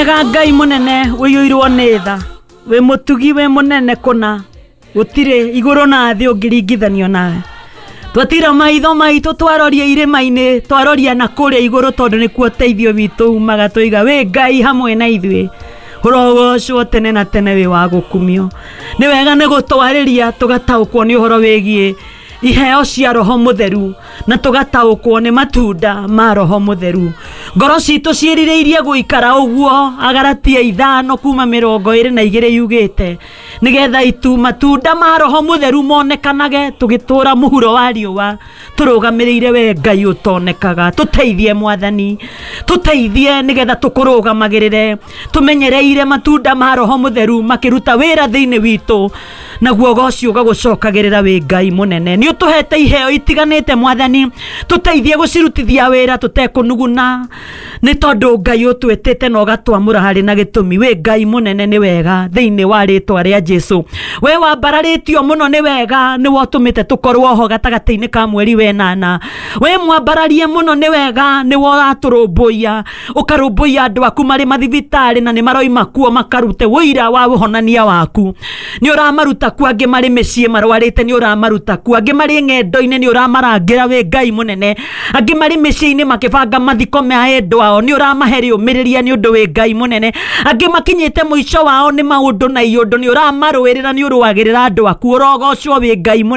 Wega Ngai munene wiyuirwo nĩ tha, wĩ mũtugi wĩ mũnene kũna, gũtirĩ igũrũ na thĩ ũngĩringithanio nawe. Twatira maitho maitũ twaroria irĩma-inĩ, twaroria na kũrĩa igũrũ tondũ nĩkuo ũteithio witũ umaga, tũiga wĩ Ngai hamwe na ithuĩ. Ũrogocwo tene na tene wĩ wa gũkumio. Nĩ wega nĩ gũtwarĩria tũgataũkwo nĩ ũhoro wĩgiĩ iheo cia Roho Mũtheru na tũgataũkwo nĩ matunda ma Roho Mũtheru. Ngoro citũ ciĩrirĩirie gũikara ũguo, Agalatia 5 kuma 22 yugĩte, nĩgetha itu matunda ma Roho Mũtheru monekanage tũgĩtũra mũhuro wa riũa, tũrũgamĩrĩire we Ngai ũtonekaga. Tũteithie Mwathani, tũteithie nĩgetha tũkũrũgamagĩrĩre, tũmenyereire matunda ma Roho Mũtheru makĩruta wĩra thĩinĩ witũ, naguo ũgoci ũgagũcokagĩrĩra wĩ Ngai mũnene. Nĩ ũtũhete iheo itiganĩte Mwathani, tũteithie gũcirutithia wĩra tũtekũnuguna, nĩ tondũ Ngai ũtwĩtĩte na ũgatwamũra harĩ na gĩtũmi. Wĩ Ngai mũnene nĩ wega, thĩinĩ wa rĩtwa rĩa Jesu. We wambararĩtio mũno nĩ wega, nĩwe ũtũmĩte tũkorwo ho gatagatĩ-inĩ ka mweri wenana. We mwambararie mũno nĩ wega, nĩwe ũratũrũmbũiya, ũkarũmbũiya andũ aku marĩ mathibitarĩ na nĩ maroima kuo makarute ũira wa ũhonania waku. Nĩ ũramaruta kuo, angĩ marĩ mĩciĩ marwarĩte nĩ ũramaruta kuo, angĩ marĩ ng'endo-inĩ nĩ ũramarangĩra wĩ Ngai mũnene, angĩ marĩ mĩciĩ-inĩ makĩbanga mathiko ma endwa ao nĩ ũramahe rĩũmĩrĩria nĩ ũndũ wĩ Ngai mũnene, angĩ makinyĩte mũico wao nĩ maũndũ na iũndũ nĩ ũramarũĩrĩra, nĩ ũrũagĩrĩra andũ aku. Ũrogocwo wĩ Ngai mũnene.